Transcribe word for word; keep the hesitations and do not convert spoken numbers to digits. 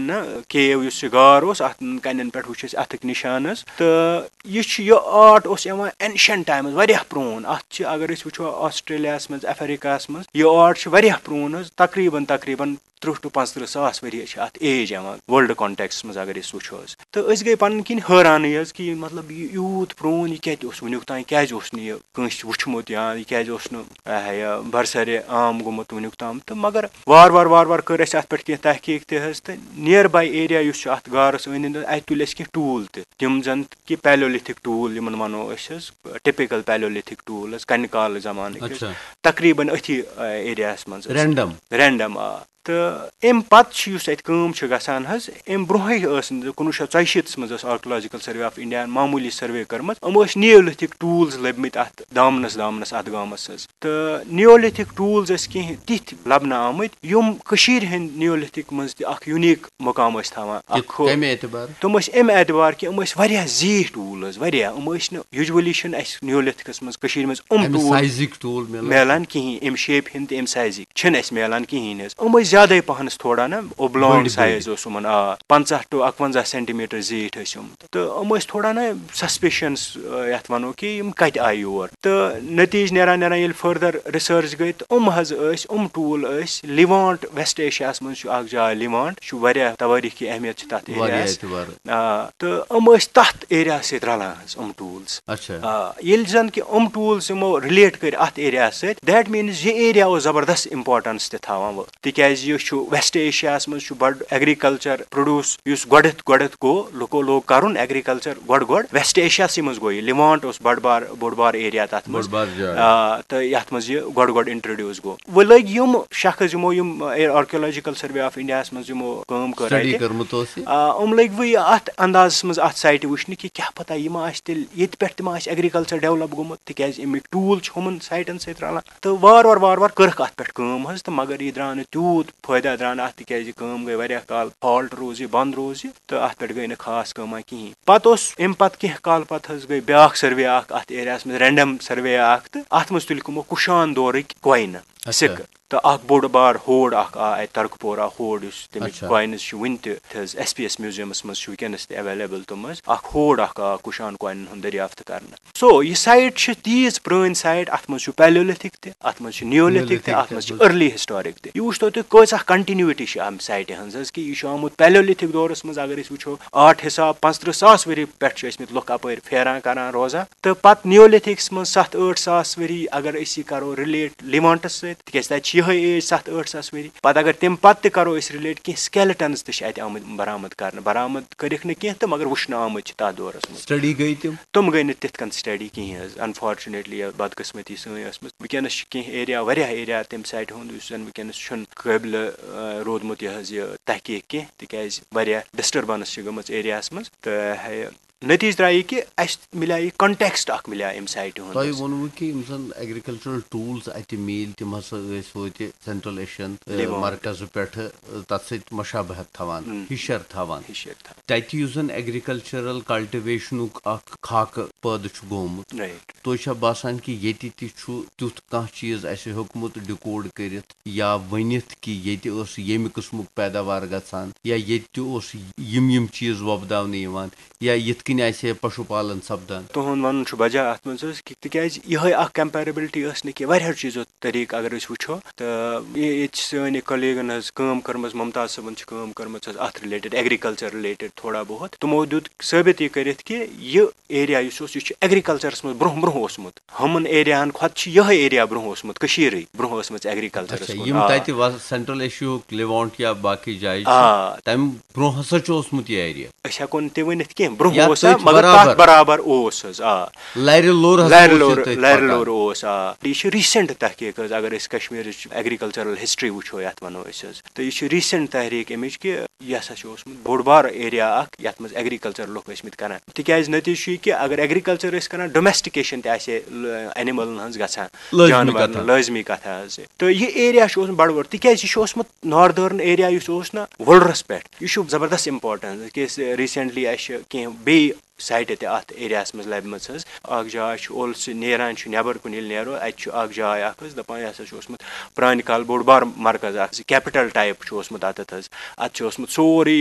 نہ، کیو یُس یہِ غار اوس، اَتھ کَنٮ۪ن پٮ۪ٹھ وٕچھ اَسہِ اَتھٕکۍ نِشانہٕ حظ۔ تہٕ یہِ چھُ، یہِ آرٹ اوس یِوان ancient times، واریاہ پرٛون۔ اَتھ چھِ، اگر أسۍ وٕچھو، آسٹریلیاہَس منٛز، افریقہَس منٛز، یہِ آرٹ چھُ واریاہ پرٛون حظ، تقریٖباً، تقریٖباً ترٕٛہ to پانٛژترٕٛہ ساس ؤری چھِ اَتھ ایج یِوان، world context منٛز اگر أسۍ وٕچھو حظ۔ تہٕ أسۍ گٔے پَنٕنۍ کِنۍ حٲرانٕے حظ کہِ یہِ، مطلب، یہِ یوٗت پرٛون، یہِ کَتہِ اوس وٕنیُک تام، کیٛازِ اوس نہٕ یہِ کٲنٛسہِ وٕچھمُت یا یہِ کیٛازِ اوس نہٕ، آ، یہِ برسرِ عام گوٚمُت وٕنیُک تام؟ تہٕ مگر وارٕ وارٕ، وارٕ وارٕ کٔر اَسہِ اَتھ پٮ۪ٹھ کینٛہہ تحقیٖق تہِ حظ، تہٕ nearby area یُس چھُ اَتھ غارَس أنٛدۍ أنٛدۍ، اَتہِ تُلۍ اَسہِ کینٛہہ ٹوٗل تہِ، تِم زَن کہِ Paleolithic ٹوٗل یِمَن وَنو أسۍ حظ، typical Paleolithic ٹوٗل حظ، کَنہِ کالہٕ زمانٕکۍ حظ، اچھا۔ تقریٖباً أتھی، آ، ایریاہَس منٛز حظ۔ Random۔ Random، آ۔ تہٕ اَمہِ پَتہٕ چھِ، یُس اَتہِ کٲم چھِ گژھان حظ، اَمہِ برونٛہٕے ٲس نہٕ، کُنوُہ شیٚتھ ژۄیہِ شیٖتَس منٛز ٲس Archaeological Survey of India معموٗلی survey کٔرمٕژ۔ یِمو ٲسۍ Neolithic tools لٔبمٕتۍ اَتھ دامنَس، دامنَس اَتھ گامَس حظ۔ تہٕ Neolithic tools ٲسۍ کینٛہہ تِتھۍ لَبنہٕ آمٕتۍ، یِم کٔشیٖرِ ہِنٛدۍ Neolithic منٛز تہِ اَکھ unique مُقام ٲسۍ تھاوان۔ اَکھ کِتھ، ہُہ-، کَمہِ اعتبار؟ تِم ٲسۍ اَمہِ اعتبار کہِ یِم ٲسۍ واریاہ زیٖٹھۍ ٹوٗل حظ، واریاہہ۔ یِم ٲسۍ نہٕ، usually چھِنہٕ اَسہِ Neolithicس منٛز کٔشیٖرِ منٛز یِم اَمہِ ٹوٗل sizeٕکۍ ٹوٗل مِلان۔ مِلان کِہیٖنۍ، اَمہِ shapeہِ ہِنٛدۍ تہٕ اَمہِ sizeٕکۍ چھِنہٕ اَسہِ مِلان کِہیٖنۍ حظ۔ یِم ٲسۍ زیادَے پَہنَس تھوڑا نہ، oblong بٔڑۍ، بٔڑۍ۔ Size اوس یِمَن، آ، پنٛژاہ to اَکوَنٛزاہ centimeter زیٖٹھۍ ٲسۍ یِم۔ تہٕ یِم ٲسۍ تھوڑا نہ suspicious، آ، یَتھ وَنو کہِ یِم کَتہِ آیہِ یور۔ تہٕ نٔتیٖجہٕ نیران نیران ییٚلہِ further research گٔے، تہٕ یِم حظ ٲسۍ، یِم ٹوٗل ٲسۍ Levant، West Asiaہَس منٛز چھُ اَکھ جاے Levant، چھُ واریاہ توٲریٖخی اہمیت چھِ تَتھ واریاہ ایریاہَس۔ اعتبار۔ آ، تہٕ یِم ٲسۍ تَتھ ایریاہَس سۭتۍ رَلان حظ، یِم ٹوٗلٕز۔ اچھا۔ آ، ییٚلہِ زَن کہِ یِم ٹوٗلٕز یِمو relate کٔرۍ اَتھ ایریاہَس سۭتۍ، that means یہِ ایریا اوس زبردست importance تہِ تھاوان وۄنۍ، تِکیٛازِ یہِ چھُ West Asiaہَس منٛز چھُ بَڑٕ agriculture produce یُس گۄڈٕنٮ۪تھ گۄڈٕنٮ۪تھ گوٚو، لُکو لوگ کَرُن agriculture گۄڈٕ گۄڈٕ West Asiaہَسٕے منٛز گوٚو یہِ، Levant اوس بٔڑ بار، بوٚڑ بار ایریا تَتھ منٛز۔ بٔڑ بار جاے۔ آ، تہٕ یَتھ منٛز یہِ گۄڈٕ گۄڈٕ introduce گوٚو۔ وۄنۍ لٔگۍ یِم شخص یِمو یِم، آ، Archaeological Survey of Indiaہَس منٛز یِمو کٲم کٔر study اَتہِ۔ کٔرمٕژ ٲس یہِ۔ آ، یِم لٔگۍ وۄنۍ اَتھ اندازَس منٛز اَتھ siteہِ وٕچھنہِ کہِ کیٛاہ پَتہ یہِ ما آسہِ تیٚلہِ ییٚتہِ پٮ۪ٹھ تہِ ما آسہِ agriculture develop گوٚمُت، تِکیٛازِ اَمِکۍ ٹوٗل چھِ ہُمَن siteن سۭتۍ رَلان۔ تہٕ وارٕ وارٕ وارٕ وارٕ کٔرٕکھ اَتھ پٮ۪ٹھ کٲم حظ، تہٕ مگر یہِ درٛاو نہٕ تیوٗت فٲیدٕ درٛاو نہٕ اَتھ، تِکیٛازِ یہِ کٲم گٔے واریاہ کال، halt روٗز یہِ، بنٛد روٗز یہِ، تہٕ اَتھ پٮ۪ٹھ گٔے نہٕ خاص کٲمہ کِہیٖنۍ۔ پَتہٕ اوس، اَمہِ پَتہٕ کینٛہہ کال پَتہٕ حظ گٔے بیٛاکھ survey اَکھ اَتھ ایریاہَس منٛز، random survey اَکھ، تہٕ اَتھ منٛز تُلۍ کٕمو کُشان دورٕکۍ coinہٕ، اچھا۔ سِکہٕ۔ تہٕ اَکھ بوٚڑ بار ہوڑ اَکھ آ اَتہِ ترکپورہ ہوڑ، یُس تَمِکۍ اچھا۔ Coins چھِ وٕنہِ تہِ تھٔز ایس پی ایس میوٗزیَمَس منٛز چھِ وٕنکیٚنَس تہِ available تِم حظ۔ اَکھ ہوڑ اَکھ آ کُشان coinن ہُنٛد دٔریافت کَرنہٕ۔ So، یہِ site چھِ تیٖژ پرٛٲنۍ site، اَتھ منٛز چھُ Paleolithic تہِ، اَتھ منٛز چھُ Neolithic تہِ، Neolithic اَتھ تہِ، منٛز چھُ اَتھ منٛز۔ Early Historic تہِ۔ یہِ وٕچھتو تُہۍ کۭژاہ continuity چھِ اَمہِ siteہِ ہٕنٛز حظ، کہِ یہِ چھُ آمُت Paleolithic دورَس منٛز، اگر أسۍ وٕچھو، آرٹ حساب پانٛژترٕٛہ ساس ؤری پٮ۪ٹھ چھِ ٲسمٕتۍ لُکھ اَپٲرۍ پھیران کَران روزان۔ تہٕ پَتہٕ Neolithicس منٛز ستھ ٲٹھ ساس ؤری، اگر أسۍ یہِ کَرو relate Levantس سۭتۍ، تِکیٛازِ تَتہِ چھِ یِہوٚے age ستھ ٲٹھ ساس ؤری۔ پَتہٕ اگر تَمہِ پَتہٕ تہِ کَرو أسۍ relate، کینٛہہ skeletons تہِ چھِ اَتہِ آمٕتۍ برآمد کَرنہٕ، برآمد کٔرِکھ نہٕ کینٛہہ تہٕ مگر وٕچھنہٕ آمٕتۍ چھِ تَتھ دورَس منٛز۔ Study گٔے تِم؟ تِم گٔے نہٕ تِتھ کٔنۍ study کِہیٖنۍ حظ، unfortunately یا بدقٕسمتی سٲنۍ ٲسمٕژ۔ وٕنکیٚنَس چھِ کینٛہہ area، واریاہ area تَمہِ siteہِ ہُنٛد، یُس زَن وٕنکیٚنَس چھُنہٕ قٲبلہِ، آ، روٗدمُت یہِ حظ یہِ تحقیٖق کینٛہہ، تِکیٛازِ واریاہ disturbance چھِ گٔمٕژ ایریاہَس منٛز۔ تہٕ ہے، نٔتیٖجہٕ درٛاو یہِ کہِ اَسہِ مِلیو یہِ context اَکھ مِلیو اَمہِ siteہِ ہُنٛد تۄہہِ حظ۔ ووٚنوُ کہِ یِم زَن agricultural tools اَتہِ میٖلۍ، تِم ہسا ٲسۍ وٲتۍ Central Asian، آ، Levant۔ مرکزٕ پٮ۪ٹھٕ، آ، تَتھ سۭتۍ مشابہت تھاوان، ہُم۔ ہِشر تھاوان۔ ہِشر تھاوان۔ تَتہِ یُس زَن agricultural cultivationُک اَکھ خاکہٕ پٲدٕ چھُ گوٚمُت، Right۔ تۄہہِ چھا باسان کہِ ییٚتہِ تہِ چھُ تیُتھ کانٛہہ چیٖز اَسہِ ہیوٚکمُت decode کٔرِتھ یا ؤنِتھ کہِ ییٚتہِ ٲس ییٚمہِ قٕسمُک پیداوار گژھان یا ییٚتہِ تہِ اوس یِم یِم چیٖز وۄپداونہٕ یِوان؟ یا یِتھ کٔنۍ آسہِ ہے پشو پالن سپدان؟ تُہُنٛد وَنُن چھُ بجا اَتھ منٛز حظ، کہِ تِکیٛازِ یِہوٚے اکھ comparability ٲس نہٕ کینٛہہ، واریاہو چیٖزو طریٖقہٕ اگر أسۍ وٕچھو، تہٕ یہِ-، ییٚتہِ چھِ سٲنۍ یہِ colleagueن حظ کٲم کٔرمٕژ، ممتاز صٲبن چھِ کٲم کٔرمٕژ حظ اَتھ related، agriculture related تھوڑا بہت۔ تِمو دیُت ثٲبت یہِ کٔرِتھ کہِ یہِ area یُس اوس، یہِ چھُ agricultureس منٛز برٛونٛہہ برٛونٛہہ اوسمُت۔ ہُمَن ایریاہَن کھۄتہٕ چھِ یِہوٚے area برٛونٛہہ اوسمُت، کٔشیٖرٕے برٛونٛہہ ٲسمٕژ agricultureس اچھا، کُن۔ یِم آ۔ تَتہِ وَ-، Central Asiaہُک Levant یا باقٕے جایہِ چھِ، آ۔ تَمہِ برٛونٛہہ ہسا چھُ اوسمُت یہِ area۔ أسۍ ہٮ۪کو نہٕ تہِ ؤنِتھ کینٛہہ، برٛونٛہہ یا اوس سا، تٔتھۍ مگر تَتھ برابر۔ برابر اوس حظ، آ۔ لَرِ لوٚر ہسا لَرِ اوس یہِ لوٚر، تٔتھۍ لَرِ پَکان۔ لوٚر اوس، آ۔ یہِ چھِ recent تحقیٖق حظ، اگر أسۍ کشمیٖرٕچ agricultural history وٕچھو، یَتھ وَنو أسۍ حظ۔ تہٕ یہِ چھِ recent تحریٖک اَمِچ کہِ یہِ ہسا چھُ اوسمُت بوٚڑ بار area اَکھ، یَتھ منٛز agriculture لُکھ ٲسۍ مٕتۍ کَران۔ تِکیٛازِ نٔتیٖجہٕ چھُ یہِ کہِ اگر agriculture ٲسۍ کَران، domestication تہِ آسہِ ہے ل-، animalن ہٕنٛز گژھان، لٲزمی جانوَرن کَتھا۔ لٲزمی کَتھا حظ۔ تہٕ یہِ area چھُ اوسمُت بَڑٕ بوٚڑ، تِکیٛازِ یہِ چھُ اوسمُت northern area یُس اوس نہ وُلرَس پٮ۪ٹھ، یہِ چھُ زبردست importance، کیٛازِ recently اَسہِ چھِ کینٛہہ بیٚیہِ siteہِ تہِ اَتھ areaہَس منٛز لَبِمَژ حظ۔ اَکھ جاے چھِ اولسہٕ نیران چھُ نٮ۪بَر کُن، ییٚلہِ نیرو اَتہِ چھُ اَکھ جاے اَکھ حظ، دَپان یہِ ہسا چھُ اوسمُت پرٛانہِ کالہٕ بوٚڑ بار مرکز اَکھ، capital type چھُ اوسمُت اَتٮ۪تھ حظ۔ اَتھ چھُ اوسمُت سورُے